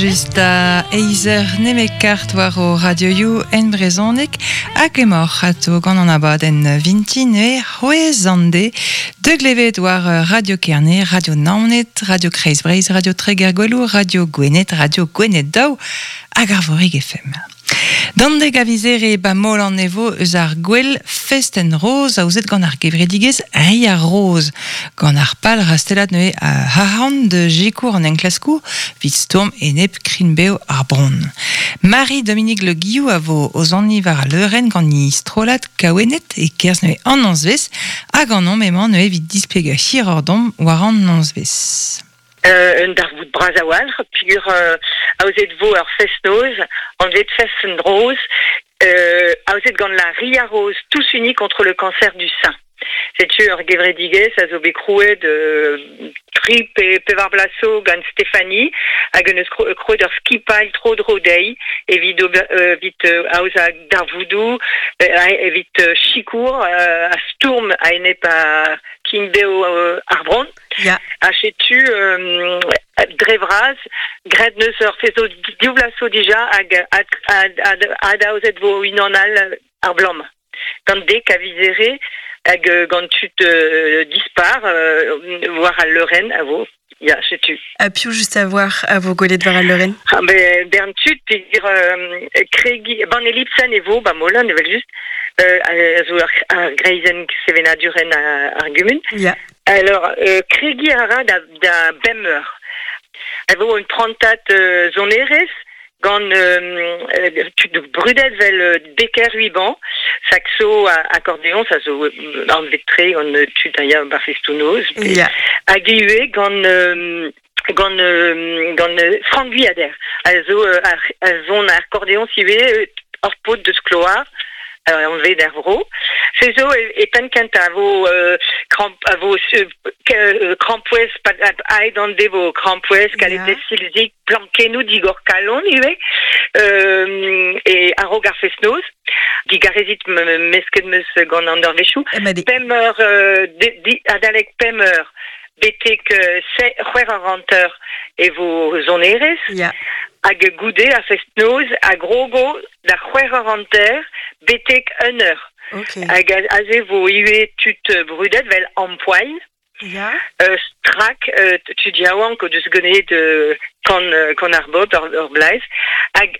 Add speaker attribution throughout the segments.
Speaker 1: Just da eizer nemet kart war o radioioù en brezhoneg hag emaoc'h ato gant an abadenn vintin e c'hwez an de de glevet war Radio Kerne, Radio Naoned, Radio Kreiz Breizh, Radio Treger Gweloù, Radio Gwened, Radio Gwened Daou hag Arvorig FM. D'an dek a viz Here ba Molan e vo eus ar gwel Fest en Roz aozet gant ar gevredigezh Ri ar Roz. Gant ar pal rastellat neuze a arc'hant da sikour an enklaskoù evit stourm enep krign-bev ar bronn. Marie-Dominique Le Guillou a vo o soniñ war al leurenn gant he strollad Kaouennet e-kerzh neuze an nozvezh hag an omp emañ neuze evit displegañ hiroc'h deomp war an nozvezh.
Speaker 2: Un darvoud bras a-walc'h peogwir aozet vo ur fest-noz anvet Fest-Rose aozet gant la Ria Rose tous unis contre le cancer du sein. Setu ur gevredigezh a zo bet krouet tri pe pevar bloaz zo gant Stéphanie hag en deus krouet ur skipailh tro-dro dezhi evit ober evit aozañ darvoudoù evit sikour ha stourm a-enep ar kin-bev ar bronn.
Speaker 1: Ya.
Speaker 2: Ha setu dre vras graet neus ur fest div vloaz zo dija hag adaozet vo unan all ar bloaz-mañ. Gant dek a viz Here hag gant tud dispar war al leurenn a vo. Ya, setu.
Speaker 3: Ha piv just a voir a vo gwelet war al leurenn?
Speaker 2: Ah, ben, bern tud peogwir kregi ban Elipsen e vo ba Molan evel-just a zo ar greizenn sevenadurenn ar gumun.
Speaker 3: Ya.
Speaker 2: Alors, kregiñ a ra da bemp eur. A vo un prantad sonerezh gant tud brudet vel Becker Huiban, saxo accordéon, ça zo anvet-tre gant tud a ya bar festoù-noz.
Speaker 3: Ya.
Speaker 2: Hag ivez gant gant gant Franck Guyader, a zo a son accordéon ivez, ur paotr deus Kloar. Anvet er vro. Se zo e penn kentañ a vo kramp a vo krampouezh aet an devo krampouezh kaletez silzig plankennoù digor kalon ivez e a-raok ar fest-noz. Digarezit mesket 'm eus gant an eurvezhioù. Pemp eur adalek pemp eur betek c'hwec'h eur hanter e vo sonerezh.
Speaker 3: Ya.
Speaker 2: Hag goude ar fest-noz a grogo da c'hwec'h eur hanter betek un eur.
Speaker 3: Okay.
Speaker 2: Hag aze vo ivez tud brudet vel Ampoil.
Speaker 3: Ya.
Speaker 2: Strak, tud yaouank o deus ganet kan, kan ar bobl, ur blaz. Hag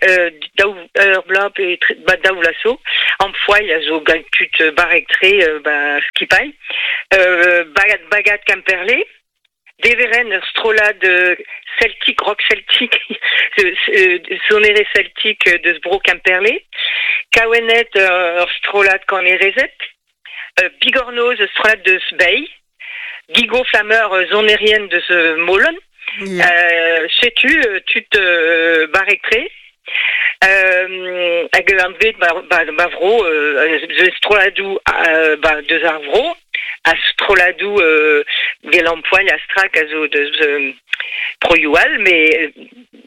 Speaker 2: daou ur bloaz pe ba daou vloaz zo, Ampoil a zo gant tud barrek-tre ba skipailh. Bagad, bagad Kemperle. Deveren ur strollad celtique, rock celtique, sonerezh celtique deus bro Kemperle. Kaouennet ur strollad kanerezed. Bigornoz ur strollad deus Bei. Gigo Flameur sonerien deus Molen.
Speaker 3: Ya.
Speaker 2: Setu tud barrek-tre. Hag anvet ba, ba, ba vro strolladoù ba, deus ar vro ha strolladoù Gelampoil ha Strak a zo deus broioù all mais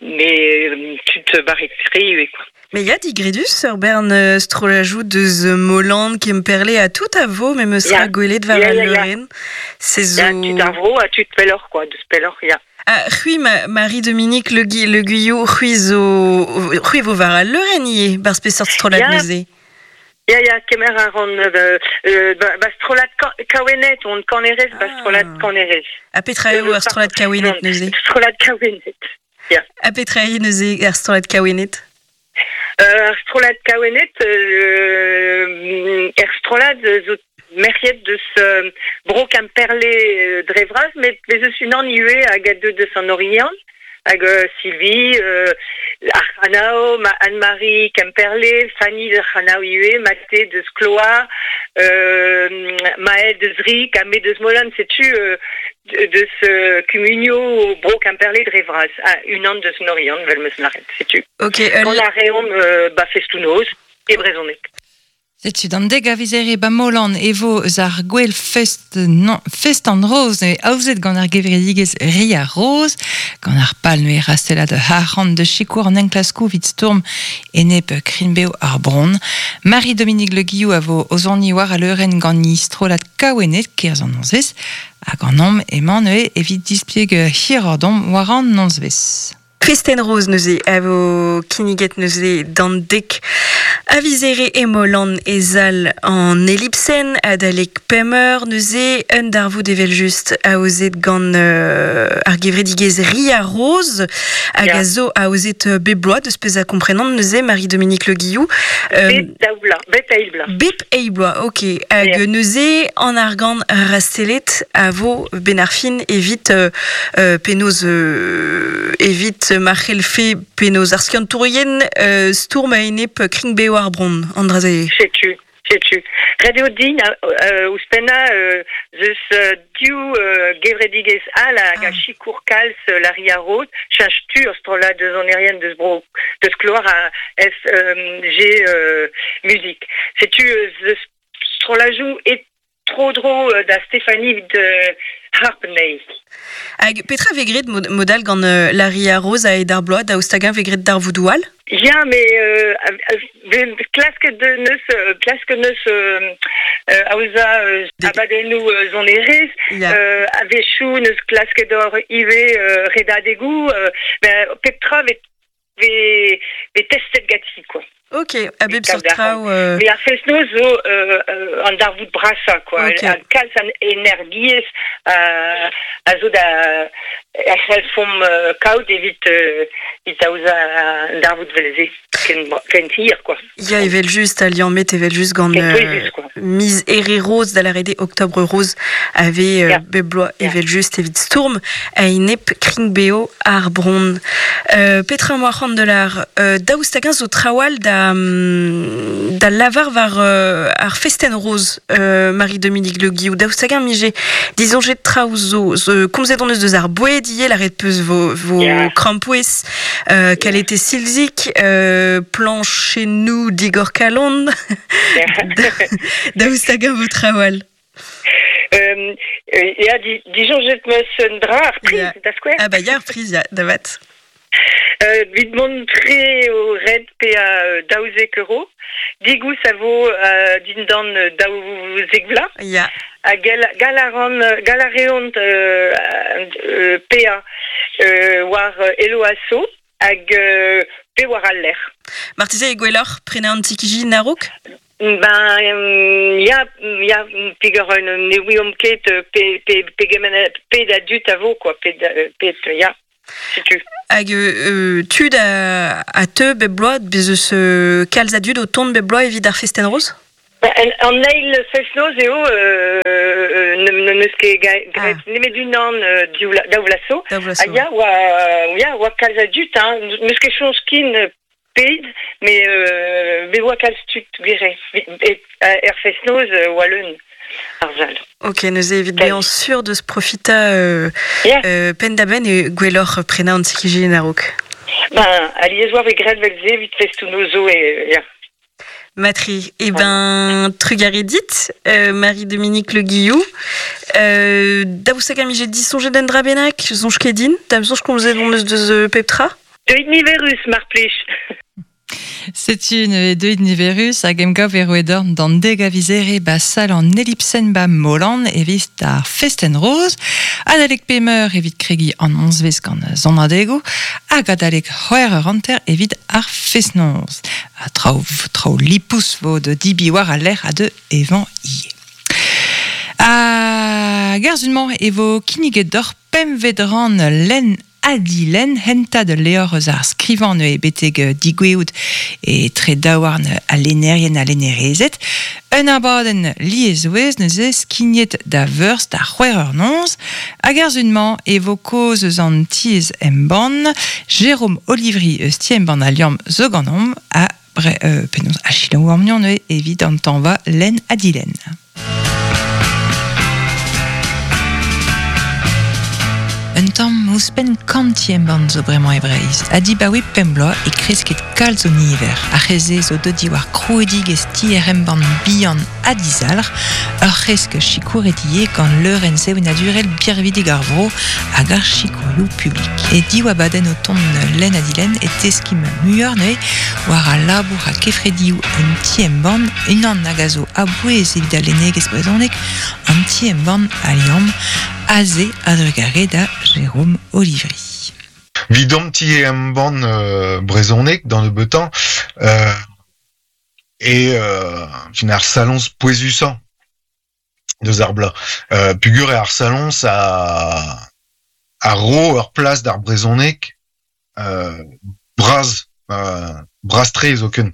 Speaker 2: mais tud barrek-tre ivez quoi.
Speaker 3: Mais ya digredus ur bern strollajoù deus Molan, Kemperle ha tout a vo memes
Speaker 2: Ya.
Speaker 3: ra gwelet war
Speaker 2: Ya,
Speaker 3: al
Speaker 2: ya, ya.
Speaker 3: leurenn. Se zo...
Speaker 2: Ya, tud ar vro ha tud pelloc'h quoi, deus pelloc'h, ya.
Speaker 3: Ah, c'hwi, Marie-Dominique Le, Le Guyot, c'hwi zo... C'hwi vo war al leurenn ivez, barzh peseurt strollad
Speaker 2: Ya.
Speaker 3: neuze?
Speaker 2: Ya, ya, kemer a ran ba, ba strollad Kaouennet, on kanerez, ba strollad
Speaker 3: Ah.
Speaker 2: kanerez.
Speaker 3: Ha petra eo ar strollad Kaouennet neuze?
Speaker 2: Strollad Kaouennet. Ya.
Speaker 3: Ha petra eo neuze ar strollad Kaouennet?
Speaker 2: Ar strollad Kaouennet, er strollad zo merc'hed deus bro Kemperle dre vras, met bez eus unan ivez hag a deu deus an Oriant, hag Sylvie, ar C'hanao, Anne-Marie Kemperle, Fanny de C'hanao ivez, Mathé deus Kloar, Maël deus Rik, ha me deus Molan, setu deus kumunioù bro Kemperle dre vras, ah, unan deus an Oriant, vel meus lâret, setu.
Speaker 3: Ok,
Speaker 2: Gant ar reomp ba festoù-noz e brezhoneg.
Speaker 1: Setu d'an dek a viz Here ba Molan e vo eus ar gwel fest, non, fest an roz neuze aozet gant ar gevredigezh Ria Roz, gant ar pal neuze rastellat arc'hant de sikour an enklaskoù evit stourm enep krign-bev ar bronn. Marie-Dominique Le Guillou a vo o soniñ war al leurenn gant he strollad Kaouennet kerzh an nozvezh, hag an omp emañ neuze evit displeg hiroc'h deomp war an nozvezh.
Speaker 3: Festen Rose neuze a vo kinniget neuze d'an dek a vizere e Molan e zal an Ellipsen adalek pemeur neuze un darvoud evel just aozet gant ar gevredigezh Ria Rose hag a zo aozet bep bloaz deus pezh a komprenan neuze Marie-Dominique Le Guillou.
Speaker 2: Bep daou bloaz, bep eil bloaz.
Speaker 3: Bep eil bloaz, ok. Hag neuze an argant rastelet a vo ben ar fin evit penaos evit ma c'hellfe penaos ar skiantourien stourm a-enep krign-bev ar bronn, an dra-se.
Speaker 2: Setu, setu. Ret eo din ouzhpennañ zeus div gevredigezh all hag a sikour kalz la Ria Rose, cheñch tu ur strollad deus sonerien deus bro deus Kloar a SG Music. Setu zeus strollajoù e tro-dro da Stéphanie evit harp anezhi.
Speaker 3: Hag petra vez graet mod all gant la Ria Rose a-hed ar bloaz, daoust hag-eñ vez graet darvoudoù all?
Speaker 2: Ya, mais klasket neus klasket neus aozañ abadennoù sonerezh, a-wechoù neus klasket hor ivez redadegoù, ben pep tra vez vez testet ganti quoi.
Speaker 3: Ok, a bep seurt traoù.
Speaker 2: Mais ar fest-noz zo an darvoud brasañ quoi.
Speaker 3: Ok.
Speaker 2: Ha kalz an energiezh a zo da a c'hellfomp kaout evit evit aozañ an darvoud vel-se ken ken hir quoi.
Speaker 3: Ya, evel-just, ha liammet evel-just gant
Speaker 2: Ken pouezus quoi.
Speaker 3: miz Here Rose, da lâret eo Octobre Rose, a vez bep bloaz evel-just evit stourm a-enep krign-bev ar bronn. Petra 'm boa c'hoant da lâr? Daoust hag-eñ zo traoù all da, da lavar war ar festenn roz, Marie-Dominique Le Guillou? Daoust hag-eñ 'mije disoñjet traoù zo? Zo komzet hon eus deus ar boued ivez, lâret 'peus vo, vo krampouezh, kalete silzig, plañchennoù digor-kalon. Daoust hag-eñ vo traoù all?
Speaker 2: Ya, disoñjet 'm eus un dra, ar priz, da skouer.
Speaker 3: Ah bah ya, ar priz, ya, da vat.
Speaker 2: Evit mont tre eo ret paeañ 12 euro. Digoust a vo dindan 12 vloaz.
Speaker 3: Ya.
Speaker 2: Ha gall a ran, gall a reont paeañ war Hello-Asso hag pe war al lec'h.
Speaker 3: Marteze eo gwelloc'h prenañ an ti-kijin a-raok?
Speaker 2: Ben ya, ya, peger ne ouiomp ket pe, pe, pegement pet a dud a vo quoi, pet, pet ya, setu.
Speaker 3: Hag tud a, a teu bep bloaz, bez eus kalz a dud o tont bep bloaz evit ar festenn roz?
Speaker 2: An eil fest-noz eo n'eus ket graet nemet unan daou vloaz zo.
Speaker 3: Daou vloaz zo.
Speaker 2: Ha ya, oa, ya, oa kalz a dud, hein. N'eus ket soñj kin ped, met me oa kalz tud gwir eo. Er fest-noz oa leun ar sal.
Speaker 3: Ok, neuze evit bezañ sur deus profitañ penn-da-benn eo gwelloc'h prenañ an ti-kijin a-raok.
Speaker 2: Ben, alies oa vez graet 'vel-se evit festoù-noz zo, ya.
Speaker 3: Matri, eh ben, trugarez dit, Marie-Dominique Le Guillou. Daoust hag am ije disoñjet un dra bennak, soñj ket din, da'm soñj komzet hon eus deus pep tra?
Speaker 2: Deuit niverus, mar plij.
Speaker 1: Setu neuze deuit niverus hag emgav e roet d'an deg a viz Here ba sal an Ellipsen ba Molan evit ar festenn roz. Adalek pemeur evit kregiñ an nozvezh gant sonadegoù hag adalek c'hwec'h eur hanter evit ar fest-noz. Ha traoù, traoù lipous vo da dibi war al lec'h ha da evañ ivez. Hag ar sun-mañ e vo kinniget deoc'h pempvet rann lenn ha dilenn hentad ul levr eus ar skrivañ neuze betek digoueout etre daouarn al lennerien ha lennerezed. Un abadenn lieswezh neuze skignet da Veurzh da c'hwec'h eur noz. Hag ar sun-mañ e vo kaoz eus an tiez embann. Jérôme Olivry eus ti-embann Al Liamm zo ganeomp ha penaos a selaou amnion neuze evit an tañva lenn ha dilenn. Un tamm ouzhpenn kant ti-embann zo bremañ e Breizh ha dibaoe pemp bloaz e kresket kalz o niver. Ar re-se zo deuet diwar krouidigezh tier-embann bihan ha dizalc'h, ur c'hresk sikouret ivez gant leurenn sevenadurel birvidik ar vro hag ar sikourioù publik. E div abadenn o tont lenn ha dilenn e teskimp muioc'h neuze war al labour ha kefredioù un ti-embann, unan hag a zo a-bouez evit al lennegezh brezhonek, an ti-embann Al Liamm, aze a-drugarez da Jérôme Olivry.
Speaker 4: Vidom ti e embann brezhoneg d'an nebeutañ e fin ar saloñs pouezusañ deus ar bloaz. Pugur eo ar saloñs a ro ur plas d'ar brezhoneg bras, bras-tre zoken.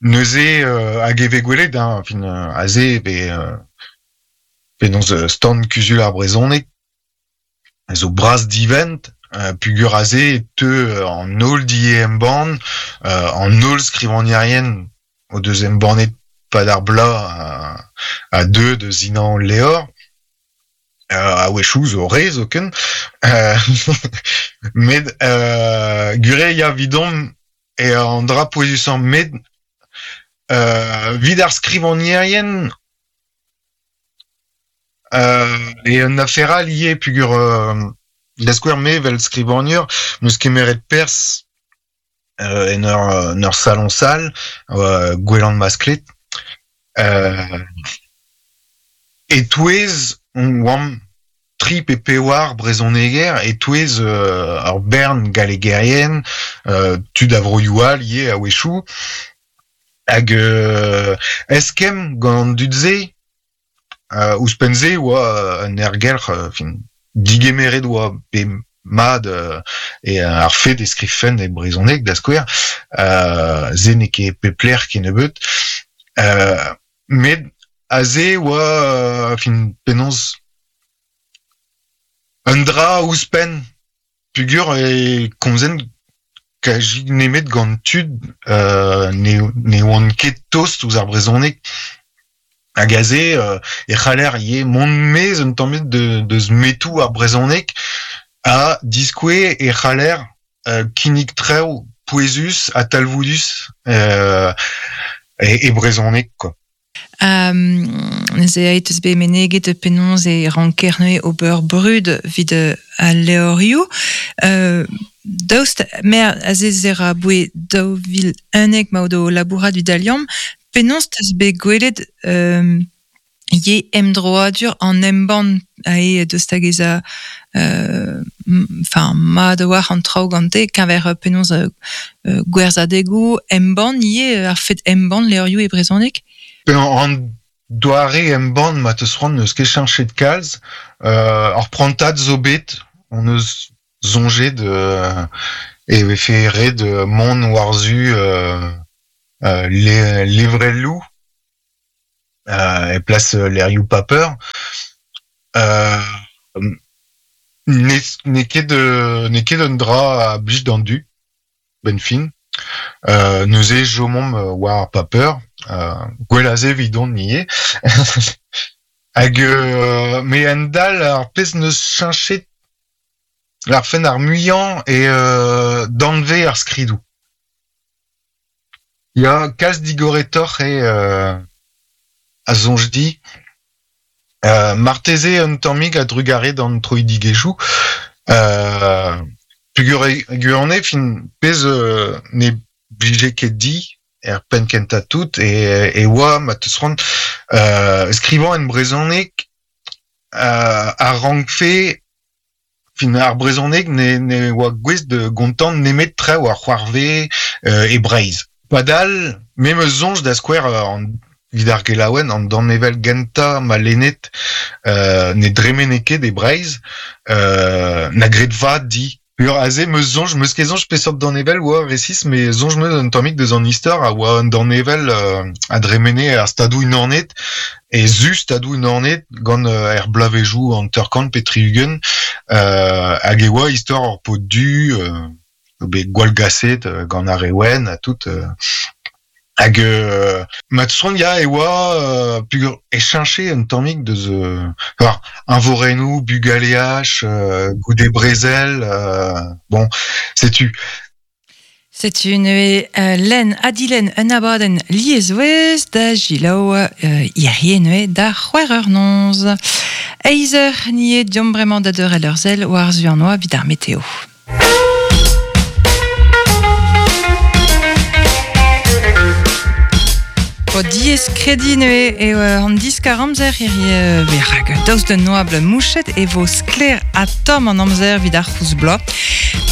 Speaker 4: Neuze hag e vez gwelet hein, fin aze e vez penaos stand kuzul ar brezhoneg a zo bras-divent pugur aze e teu an holl die-embann, an holl skrivagnerien o deus embannet pad ar bloaz a deu da sinañ al levr. A-wechoù zo re zoken. Met gwir eo ya evidomp eo an dra pouezusañ met evit ar skrivagnerien eo un afer all ivez peogwir da skouer me evel skrivagner 'm eus kemeret perzh en ur saloñs all Gwelan Masklet e-touez oamp tri pe pevar brezhoneger e-touez ur bern gallegerien tud a vroioù all ivez a-wechoù hag eskemm gant an dud-se Ouzhpenn-se e oa un aergelc'h fin digemeret oa bet mat e ar fed e skrivfen e brezhoneg da skouer se n'eo ket pep lec'h kennebeut met aze e oa fin penaos un dra ouzhpenn peogwir e komzen kazi nemet gant tud ne oant ket tost ouzh ar brezhoneg hag aze e c'haller ivez mont maez un tammig deus metoù ar brezhoneg ha diskouez e c'haller kinnig traoù pouezus ha talvoudus e brezhoneg quoi.
Speaker 1: Neuze aet eus bet meneget penaos e ranker neuze ober brud evit al levrioù. Daoust mer aze ra boe 2011 ma o labourat evit al liamm, penaos 'teus bet gwelet ivez emdroadur an embann ae deus da gezañ enfin mat a-walc'h an traoù gante keñver penaos gwerzhadegoù embann ivez ar fed embann levrioù e brezhoneg?
Speaker 4: An doare embann ma 'teus c'hoant n'eus ket cheñchet kalz. Ur prantad zo bet hon eus soñjet e vefe ret mont war-zu levrelloù e plas levrioù paper. N'eo ket un dra a blij d'an dud 'benn fin. Neuze chomomp war ar paper, gwell aze evidon ivez. Hag me a-hend-all ar pezh 'neus cheñchet lârfen ar muiañ eo danvez ar skridoù. Ya, kalz digoretoc'h eo a soñj dit. Marteze un tammig a-drugarez d'an troidigezhioù. Peogwir e gwirionez fin pezh ne blije ket dit er penn kentañ tout e oa ma 'teus c'hoant skrivañ en brezhoneg a rankfe Fin ar brezhoneg ne oa gouest da gontañ nemet traoù a c'hoarvez e Breizh. Padal, me 'm eus soñj da skouer evit ar gelaouenn an danevell gentañ ma lennet ne dremene ket e Breizh, na graet vat di. Peogwir aze 'm eus soñj, 'm eus ket soñj peseurt danevell oa resis, met soñj 'm eus un tammig deus an istor a oa un danevell a dremene er Stadoù-Unanet e su Stadoù-Unanet gant er bloavezhioù 50 pe 60 hag e oa istor ur paotr du bet gwallgaset gant ar re wenn ha tout. Hag ma soñj ya e oa peogwir e cheñche un tammig deus war eñvorennoù bugaleaj goude brezel bon setu.
Speaker 1: Setu neuze lenn ha dilenn un abadenn lieswezh da selaou hirie neuze da c'hwec'h eur noz. Eizh eur ni eo deomp bremañ da deurel ur sell war-zu an oabl evit ar meteo. O diaes krediñ neuze eo an diskar-amzer hirie rak daoust d'un oabl mouchet e vo sklaer ha tomm an amzer evit ar c'houlz bloaz.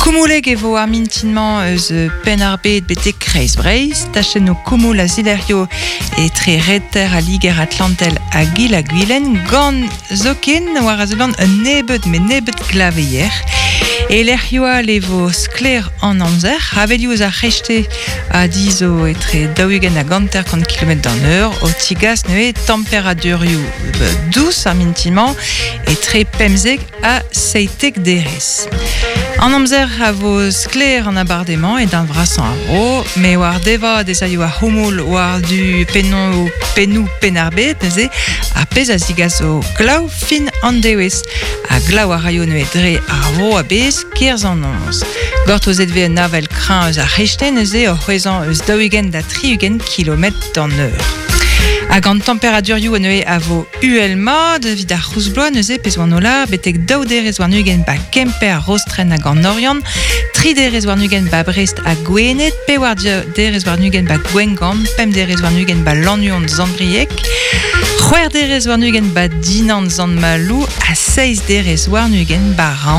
Speaker 1: Koumoulek e vo ar mintinmañ eus Penn-ar-Bed betek Kreiz Breizh, tachennoù koumoul a zilec'hio etre reter al Liger Atlantel hag Il-ha-Gwilen gant zoken war a seblant un nebeud met nebeud glaveier. E lec'hioù all e vo sklaer an amzer, avelioù eus ar c'hreisteiz a dizho etre 40 hag 50 kilometr d'an eur, o tigas neuze temperadurioù dous ar mintin-mañ etre 15 ha 17 derez. An amzer a vo sklaer an abardaez-mañ e darn vrasañ ar vro, met war devat ez aio ar c'houmoul war-du pennoù pennoù Penn-ar-Bed neuze, ar pezh a zigaso glav fin an devezh. Ha glav a raio neuze dre ar vro a-bezh kerzh an noz. Gortozet vez un avel kreñv eus ar c'hreisteiz neuze o c'hwezhañ eus 40 da 60 kilometr d'an eur. Hag an temperadurioù neuze a vo uhel-mat evit ar c'houlz-bloaz neuze pezh oan o lâr betek daou derez warn-ugent ba Kemper, Rostren hag an Oriant, tri derez warn-ugent ba Brest ha Gwened, pewar derez warn-ugent ba Gwengamp, pemp derez warn-ugent ba Lannuon Sant-Brieg, c'hwec'h derez warn-ugent ba Dinan Sant-Maloù ha seizh derez warn-ugent ba Raon.